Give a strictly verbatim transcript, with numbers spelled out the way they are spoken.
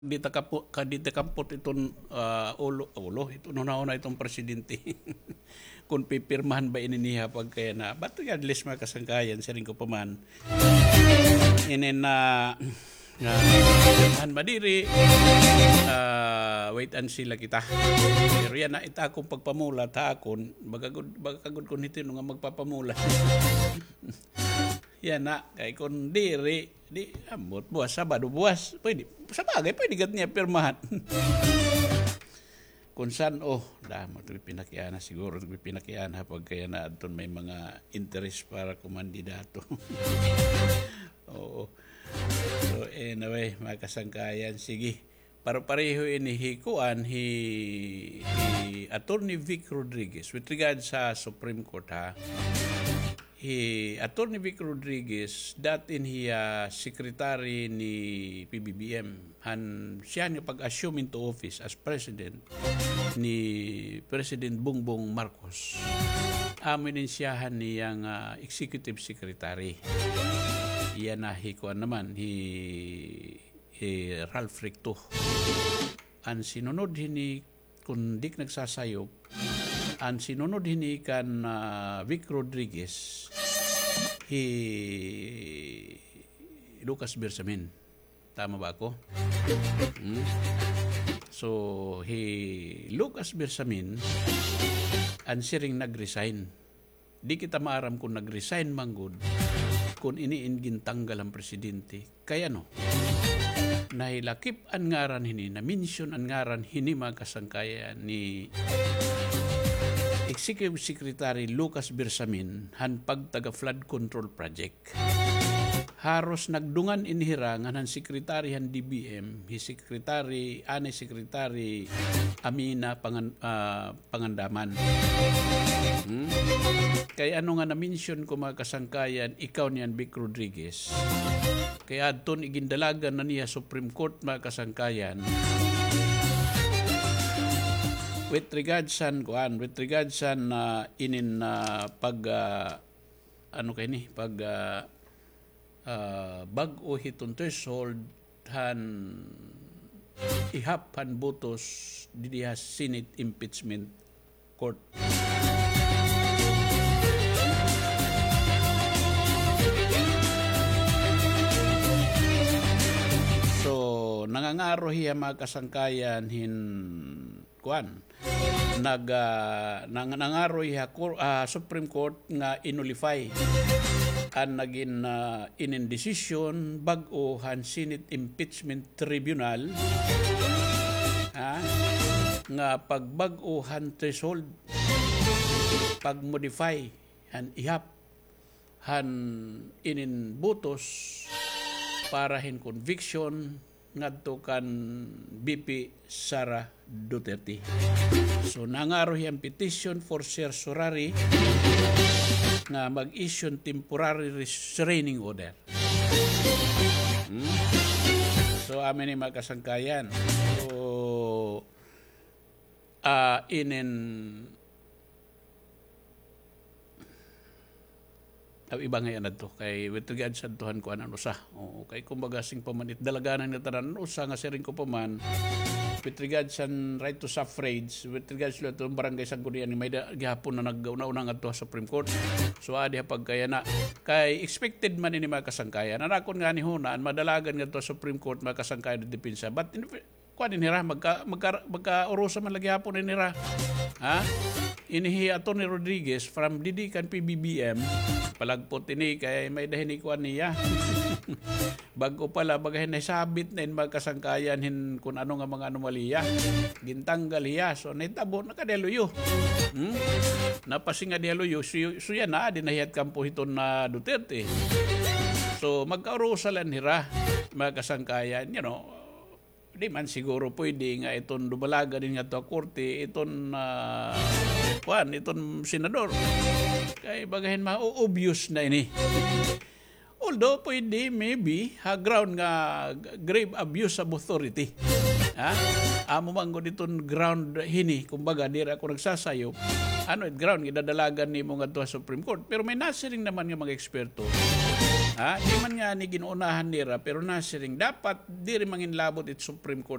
di ta kapu-, ka di ta kampot iton, ah, ulo, ulo, iton hunahuna iton presidente. Kon pipirmahan ba ini niya pagkayana. But regardless, mga kasangkayan, siring ko pa man, inin na, na pirmahan ba diri, ah, wait and see la kita. Pero yana, it akon pagpamulat ha akon, baga gud, baga gud kon hitino nga magpapamulat. Yana, kay kon diri, di, ambot, buwas, Sabado, buwas. Pwede, sa bagay, pwede gad niya pirmahan. Kon san-o, damo, ito pinakiana, siguro, ito pinakiana, pagkayana, adton may mga interes para kumandidato. Oo. So, anyway, mga kasangkayan, sige. Paro-pareho ini hi kuan, hi, hi Attorney Vic Rodriguez with regards sa Supreme Court, ha. Hi Attorney Vic Rodriguez, dati ini hiya secretary ni P B B M, han siya nga pag-assume into office as president ni President Bongbong Marcos. Amo ini siya han niya nga executive secretary. Iya na hi kuan naman, hi eh, Ralph Recto. An sinunod hini, kon di ak nagsasayop, an sinunod hini kan, ah, Vic Rodriguez, hi Lucas Bersamin. Tama ba ako? Hmm? So, hi Lucas Bersamin, an siring nag-resign. Di kita maaram kon nag-resign man gud, kon ini in gintanggal han presidente. Kay ano? Nahilakip an ngaran hini, na-mention an ngaran hini, mga kasangkayan, ni Executive Secretary Lucas Bersamin han pagtaga flood control project. Haros nagdungan ini hira ngan han secretary han D B M, hi Secretary, anay Secretary Amina Pangan-, ah, Pangandaman. Hmm? Kay ano nga na-mention ko, mga kasangkayan, ikaw niyan, Vic Rodriguez. Kay adton igindalagan na niya Supreme Court, mga kasangkayan. With regards san, kuan, with regards san, ah, inin, ah, pag, ah, ano kay ni, pag, ah, ah, bag-o hiton threshold han ihap han botos didi ha Senate Impeachment Court. So, nangangaro hiya, mga kasangkayan, hin kuan, nag-, ah, nang-, nangaro hiya ha Cor-, ah, Supreme Court nga i-nullify an nagin, ah, inin desisyon bag-o han Senate Impeachment Tribunal, ha, nga pagbag-o han threshold, pag-modify han ihap han inin botos para hin conviction ngadto kan V P Sara Duterte. So, nangaro hiya hin petition for certiorari nga mag-issue hin temporary restraining order. Hmm? So, amo ini, mga kasangkayan. So, ah, inin Aw, iba ngay-an adto. Kay with regards adto han kuan an usa. Oo, kay kumbaga siring pa man it dalaganan nga tanan an usa nga siring ko pa man, with regards han right to suffrage, with regards la adto barangay Sangguniang may-ada gihapon na nag-una-una ngadto ha Supreme Court. So, adi ha pagkayana. Kay expected man ini, mga kasangkayan. An akon ngani huna, an madalagan ngadto ha Supreme Court, mga kasangkayan, depensa. But in kuan ini hira, magka-, magka-, magkaurusa man la gihapon ini hira. Ha? Ini hi Attorney Rodriguez from didi kan P B B M, palagpot ini kay may-ada hini kuan niya. Bag-o pa la, baga hin nahisabit na in mga kasangkayan hin kun ano nga mga anomalya. Gintanggal hiya. So, nahitabo, nakadi ha luyo. Hmm? Napasingadi ha luyo, so, so yana, adi na hiya ha kampo hiton, ah, Duterte. So, magkaurusa la ini hira, mga kasangkayan, you know, Di man siguro pwede nga iton dumalagan ini ngadto ha korte, iton, ah, kuan, iton senador. Kay baga hin ma-obvious na ini. Although pwede, maybe, ha ground nga g-, grave abuse of authority. Ha? Amo man gud iton ground hini, kumbaga, diri ako nagsasayop. Ano it ground nga idadalagan nimo ngadto ha Supreme Court? Pero may nasiring naman nga mga eksperto Ha? Di man ngani gin-unahan nira, pero nasiring, dapat diri manginlabot it Supreme Court.